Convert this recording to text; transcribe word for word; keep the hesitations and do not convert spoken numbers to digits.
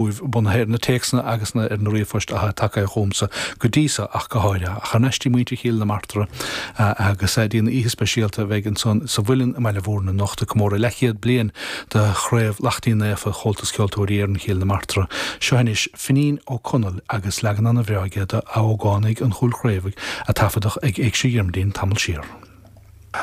Bunaithe ar na téacsanna agus na ar na ríomhphoist atá tagtha chugamsa go dtí seo ach go háirithe. Ach thar n-ais dtí muintir Chill na Martra agus dtí an oíche speisialta a bheidh ansan sa Mhuileann i mBaile Mhúirne anocht ag comóradh leathchéad bliain de Chraobh Laichtín Naofa Chomhaltas Ceoltóirí Éireann Chill na Martra. Seo anois Finín Ó Conaill agus leagan an-bhreá aige de 'A Ógánaigh an Chúil Chraobhaigh' a taifeadadh ag Éigse Dhiarmuidín tamall siar.